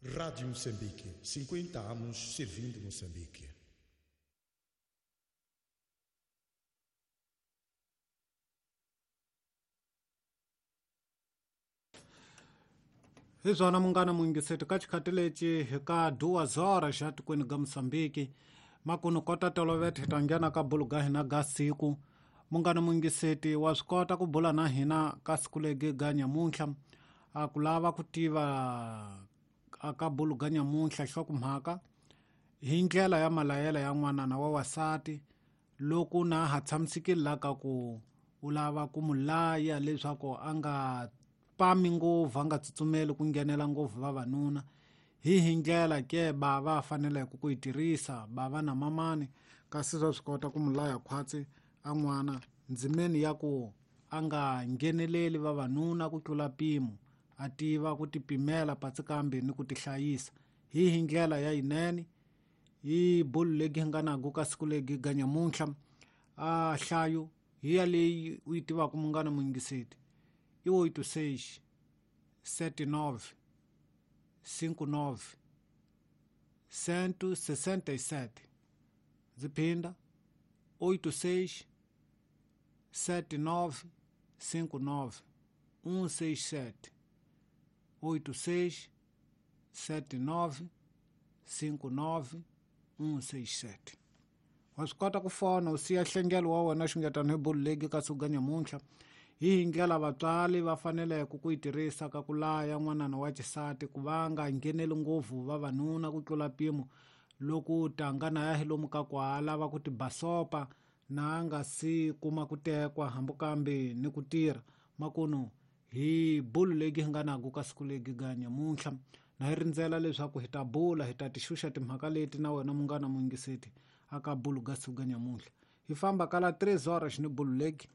Rádio Moçambique, 50 anos servindo Moçambique. Hi swona munghana muyingiseti ka xikhathi lexi hi ka 2 horas xa tikweni ga Mosambiki makunu kota tolovete hi ta nghena ka bulu ga hina ga siku. Munghana muyingiseti, wa swi kota ku bula na hina ka siku legi ga nyamuntlha a ku lava ku tiva a ka bulu ga nyamuntlha nhlokomhaka hi ndlela ya malayela ya n'wanana wa wasati loko na ha tshamisekile la ka ku u lava ku mu laya leswaku a nga pami ngopfu, a nga tsutsumeli ku nghenela ngopfu vavanuna, hi ndlela ke bava faneleke ku yi tirhisa bava na mamani, kasi swa swi kota ku mu laya khwatsi a n'wana ndzimeni ya ku a nga ngheneleli vavanuna ku tlula mpimo, a tiva ku tipimela patsi kambe ni ku tihlayisa hi ndlela ya yinene. Hi bulu legi hi nga nago ka siku legi ga nyamuntlha a hlayo hi ya leyi u yi tivaka munghana muyingiseti i 86 79 59 167. Ndzi phinda: 86 79 59 167, 86 79 59 167. Wa swi kota ku fona u siya nhlengelo wa wena xungetano hi bulu legi ka siku ga nyamuntlha hi ndlela vatswari va faneleke ku yi tirhisa ka ku laya n'wanana wa xisati ku va nga ngheneli ngopfu vavanuna ku tlula mpimo loko tanga na ya hi lomu ka ku a lava ku tibasopa na a nga si kuma ku tekwa hambi kambe ni ku tirha. Makunu hi bulu legi hi nga nago ka siku legi ga nyamuntlha na hi rindzela leswaku hi ta bula, hi ta tixuxa timhaka leti na wena munghana muyingiseti aka bulu ga siku ga nyamuntlha. Hi famba kala 3 horas ni bulu legi.